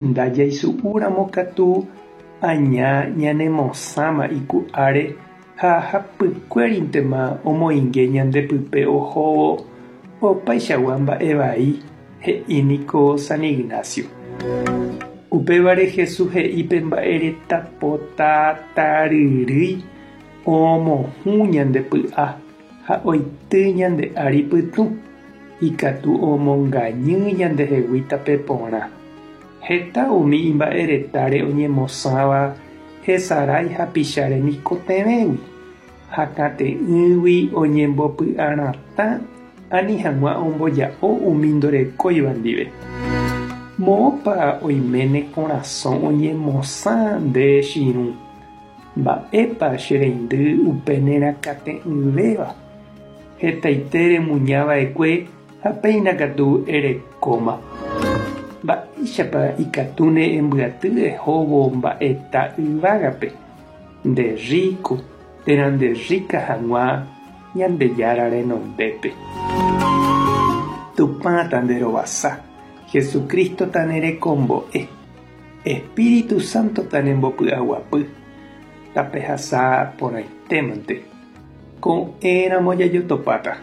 Ndajaisu'úramo katu aña ñanemosãma iku'áre ha hapykuérintema omoinge ñande pype ohóvo opaichagua mba'e vai, he'i niko San Ignacio. Upévare Jesús he'i pe mba'ereta pota taryrýi omohũ ñande py'a ha oity ñande ári pytũ, ikatu omongañy ñandehegui tape porã. Heta umi imba'eretáre oñemosãva hesarái hapicha remikotevẽgui, hakate'ỹgui oñembopy'aratã ani hag̃ua omboja'o umi ndorekóiva ndive. Moõpa oime ne korasõ oñemosã nde che irũ? Mba'épa che reindy upe nerakate'ỹvéva? Hetaite remuñava'ekue ha péina katu erekóma. Mba'éichapa ikatúne embyaty ehóvo mba'eta yvágape, nde rríko térã nde rríka hag̃ua Ñandejára renondépe. Tupã tanderovasa, Jesucristo tanerekombo'e, Espíritu Santo tanembopy'aguapy, tapehasa porãitémante. Ko'ẽramo jajotopáta.